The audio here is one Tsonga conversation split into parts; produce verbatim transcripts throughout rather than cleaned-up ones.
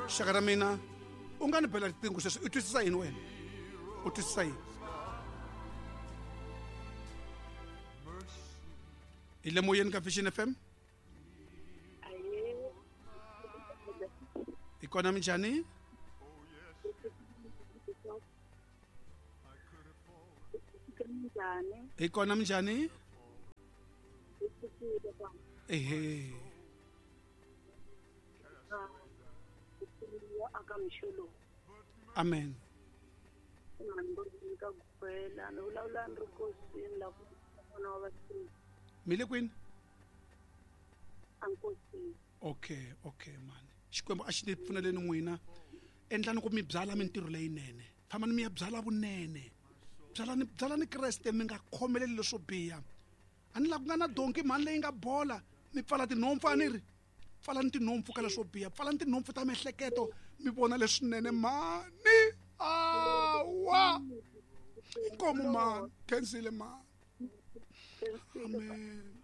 Xaka ra mina u nga ni bela riqingho sweswi u twisisa yini wena u twisisa yini hi le moyeni ka Vision F M hi kona minjhani hi kona minjhani ehe amen mi le kwini okay okay mani Xikwembu a xi ni pfuneleni n'wina endlani ku mi byala mintirho leyinene fambani mi ya byala vunene byalani byalani Kreste mi nga khomeleli leswo biha a ni la ku nga na donki mhani leyi nga bola mi pfala tinhompfu a ni ri pfalani tinhompfu ka leswo biha pfalani tinhompfu ta miehleketo mi vona leswinene mani awa inkomo mani khensile mani amen amen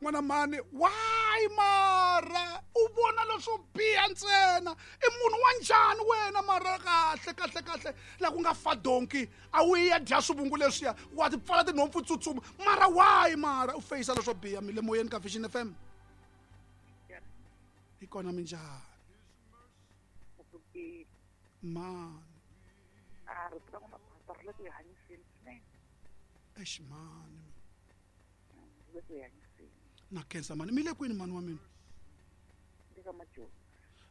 n'wana mani why mara u vona leswo biha ntsena i munhu wa njhani wena mara kahle kahle kahle la ku nga fa donki a wu ya dya swivungu leswiya wa ti pfala tinhompfu tsutsuma mara why mara u feyisa leswo biha mi le moyeni ka Vision F M hi kona minjhani mani exi mani na khensa mani mi le kwini mani wa mina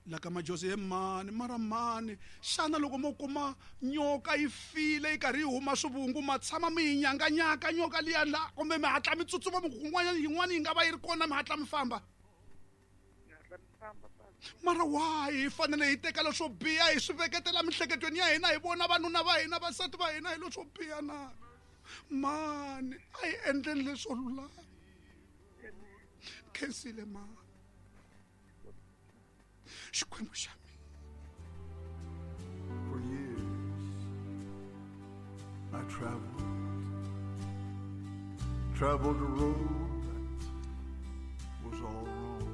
la ka Majozi he mani mara mani xana loko mo kuma nyoka yi file yi karhi yi huma swivungu ma tshama mi yi nyanganyaka nyoka liya la kumbe mi hatla mi tsutsuma mi kun'wanyana yin'wana yi nga va yi ri kona mi hatla mi famba mara why hi fanele hi teka leswo biha hi swi veketela miehleketweni ya hina hi vona vanuna va hina vasati va hina hi leswo biha na mani a hi endleni leswo lulama khensile mani Xikwembu xa mina. For years I traveled, traveled a road that was all wrong.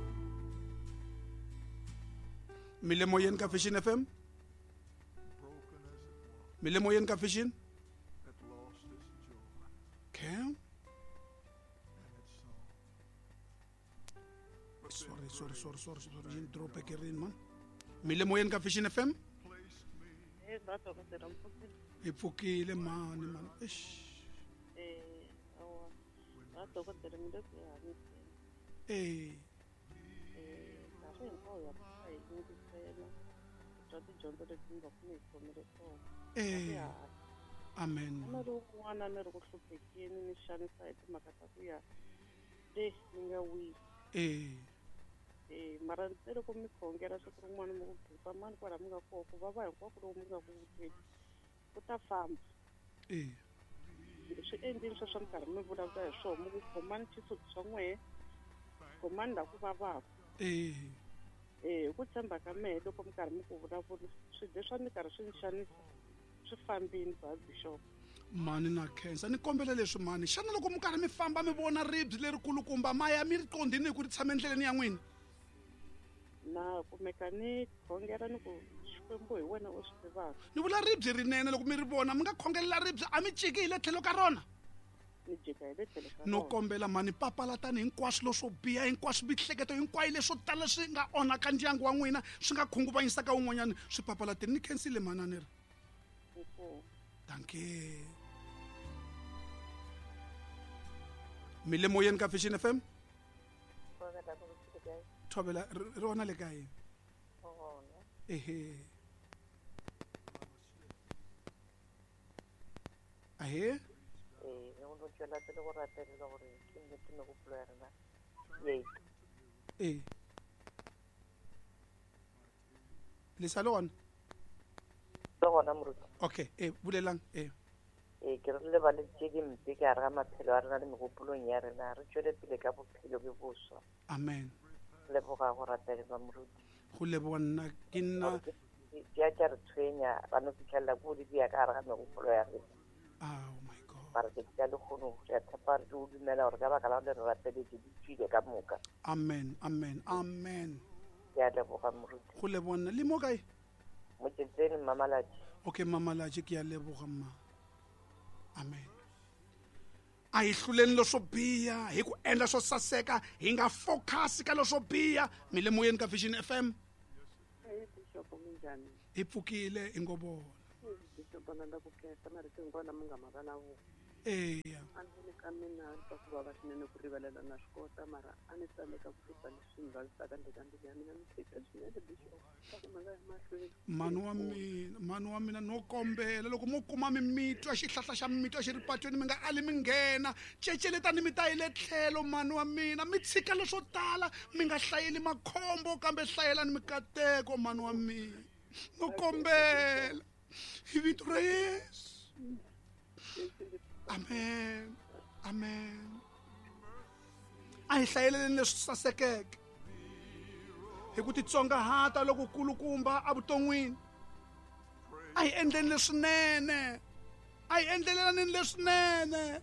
Mi le moyeni ka Vision F M? Mi le moyeni ka Vision? Okay. Sorry, sorry, sorry, sorry, sorry. Yini drop ekerini man. Mi le moyeni ka Vision F M? Hi pfukile mani mani. Eish. Eh, awa. Va dokodela mi le ku hanyiseni. Eh. Eh, nkarhi hinkwawo ya hi yingisela. Twa tidyondzo leti mi va ku mi hi khomile tona. Eh. Amen. Na ri un'wana ni ri ku hluphekeni ni xanisa hi timhaka ta ku ya le ni nga wisi. Eh. Eh, mara ntsena loko mi khongela siku rin'wana mi ku bipa mani kwala mi nga kona ku vava hinkwako loku mi nga ku vuteni ku ta famba. Eh. Swi endlini sweswo mi karhi mi vulavula hi swona mi ku khomani xisuti swa n'wehe khomani la ku vavaka. Eh. Eh, hi ku tshemba ka mehe loko mi karhi mi ku vulavula swilo leswi a ni karhi swi ni xanisa swi fambini ba bishop. Mani na khensa ni kombela leswi mani xana loko mi karhi mi famba mi vona ribye lerikulukumba ma ya mi ri qondini hi ku ri tshama endleleni ya n'wina? Na kumeka ni khongela ni ku Xikwembu hi wena u swi tivaka. Ni vula ribye rinene loko mi ri vona mi nga khongelela ribye a mi ciki hi le tlhelo ka rona? Ni jika hi le tlhelo ka no rona. Kombela mani papalatani hinkwaswo leswo biha hinkwaswo mihleketo hinkwayo leswo tala swi nga onhaka ndyangu wa n'wina swi nga khunguvanyisaka un'wanyana swi papalateni ni khensile mhani a ni ri. Dankie. Mi le moyeni ka Vision F M? Thobela ri rona le kae? Ehe. Ahe? Eh, o no tswela pele go rapelela gore ke nnete megopolo ya rena ye. Eh. Le sa le gona? Le gona moruti. Okay, eh bulelang eh. Eh ke re lebale tše dimpe ka re ga maphelo a rena le megopolong ya rena re tswele pele ka bophelo bjo boswa. Amen. Leboga go rapelelwa moruti. Go leboga nna ke nna di a tša re tshwenya ba no fitlhelela ko di dia ka gare ga megopolo ya rena. Oh my God. Mara ke tša lekgono re a tshepa re o dumela gore ka baka la gore re rapeletse di tswile ka moka. Amen, amen, amen. Ke a leboga moruti. Go leboga nna le mo kae? Motsetseng Mamalatši. Okay Mamalatši ke a leboga mma. Amen. A hi hluleni leswo biha hi ku endla swo saseka hi nga focus ka leswo biha. Mi le moyeni ka Vision F M. Hi pfukile hi ngo vona. Eya. A ndzi ka mina twa ku vava swinene ku rivalela na swi kota mara a ni tsandzeka ku susa leswi ni vavisaka ndzeni ka mbilu ya mina ni khensa swinene bishop swa ku mi nga ya mahlweni. Mhani wa mina, mhani wa mina no kombela loko mo kuma mimitwa xihlahla xa mimitwa xi ri patweni mi nga ali mi nghena ceceletani mi ta yi le tlhelo mhani wa mina mi tshika leswo tala mi nga hlayeli makhombo kambe hlayelani mikateko mhani wa mina no kombela hi vito ra Yesu. Amen. Amen. A hi hlayeleni leswi sasekeke hi ku titsongahata loko kulukumba evuton'wini. A hi endleni leswinene. A hi endlelelaneni leswinene.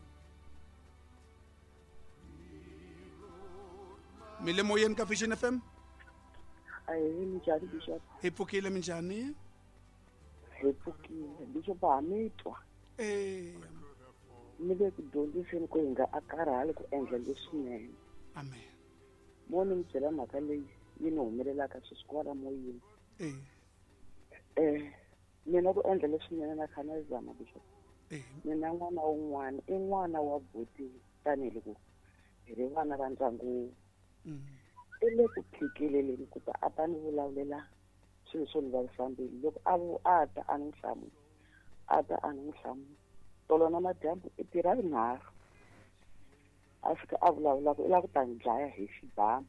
Mi le moyeni ka Vision F M? Ahee, minjhani Bishop? Hi pfukile minjhani? Hi pfukile Bishop, ha mi twa. Eya. Mi le ku dyondziseni ku hi nga a karhali ku endla leswinene. Amen. Mo ni mi byela mhaka leyi yi ni humelelaka sweswi kwala moyeni. Eh. Eh, mina ku endla leswinene na kha na zama Bishop. Eh. Mina n'wana wun'wana i n'wana wa buti tanihiloko hi ri vana va ndyangu. Mm. I le ku phikeleleni ku ta a ta ni vulavulela swilo swo ni vavisa mbilu loko a vu a ta a ni hlamula a ta a ni hlamula tolo na madyambu i tirha rinharhu a fika a vulavula ku i lava ku ta ni dlaya hi xibamu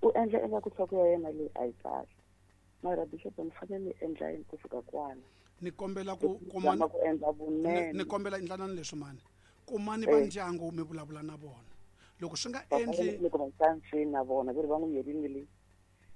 u endla ingaku nhloko ya yena leyi a yi kahle mara Bishop ni fanele ni endla yini ku fika kwala ni kombela ku kuma ku endla vunene ni kombela endlanani leswi mani kumani va ndyangu mi vulavula na vona loko swi nga endli ni ku va xanseni na vona ve ri va n'wi yerini le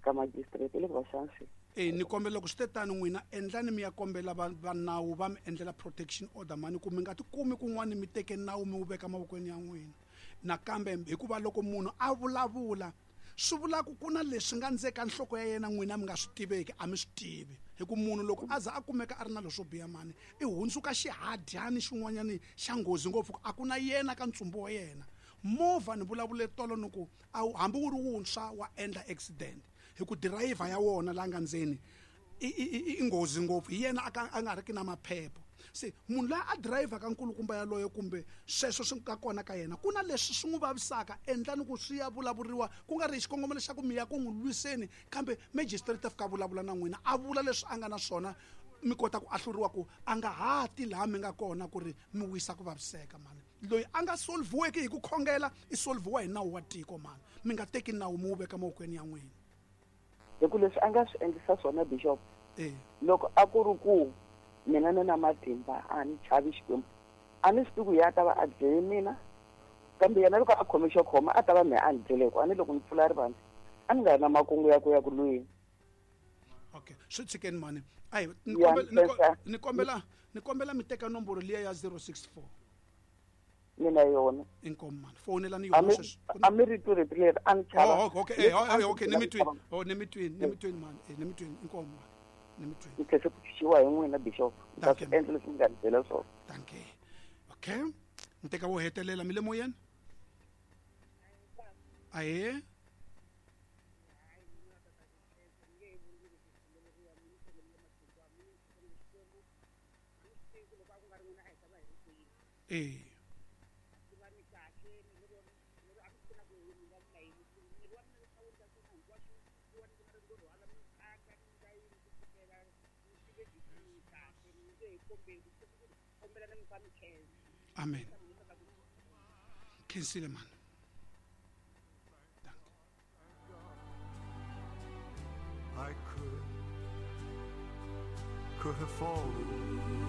ka magistrate le ku va xanseni. Eh ni kombela loko swi te tani n'wina endlani mi ya kombela va va nawu va mi endlela protection order mani ku mi nga tikumi kun'wana mi teke nawu mi wu veka mavokweni ya n'wina nakambe hikuva loko munhu a vulavula swi vula ku ku na leswi nga ndzeka nhloko ya yena n'wina mi nga swi tiveki a mi swi tivi hi ku munhu loko a za a kumeka a ri na leswo biha mani i hundzuka xihadyani xin'wanyani xa nghozi ngopfu a ku na yena ka ntsumbu wa yena. Movha ni vulavule tolo ni ku a hambi wu ri wuntshwa wa endla accident hi ku dirayivha ya wona la nga ndzeni i i i nghozi ngopfu hi yena a nga ri ki na maphepha se munhu loyi a dirayivhaka nkulukumba yaloye kumbe sweswo swi nga kona ka yena ku na leswi swi n'wi vavisaka endlani ku swi ya vulavuriwa ku nga ri hi xikongomelo xa ku mi ya ku n'wi lwiseni kambe magistrate a fika vulavula na n'wina a vula leswi a nga na swona mi kota ku ahluriwa ku a nga ha ti laha mi nga kona ku ri mi wisa ku vaviseka mani loyi a nga solviweki hi ku khongela i solviwa hi nawu wa tiko mani mi nga teki nawu mi wu veka mavokweni ya n'wina hi ku leswi a nga swi endlisa swona Bishop eh loko a ku ri ku mina ni na matimba a ni chavi Xikwembu a ni swi tivi ku ya ta va a dlele mina kambe yena loko a khome xo khoma a ta va mehe a ni dlele ku a ni loko ni pfula rivanti a ni nga ri na makungu ya ku ya ku lweni. Okay swi tshikeni mani ayi ni kombela ni kombela ni kombela mi teka nomboro liya ya zero six four mina yona inkomu mani fonelani yona sweswi a mi ri tu rito leri a ni chava. Oh okay eh okay ni mi twini oh ni mi twini ni mi twini mani eh ni mi twini inkomu mani ni mi twini ni tlhese ku xiwa hi n'wina Bishop ta swi endla leswi mi nga ni byela swona. Dankie. Okay ni teka wo hetelela mi le moyeni. Ahee. Eh. Amen. Khensile man. Dankie. I could could have fallen.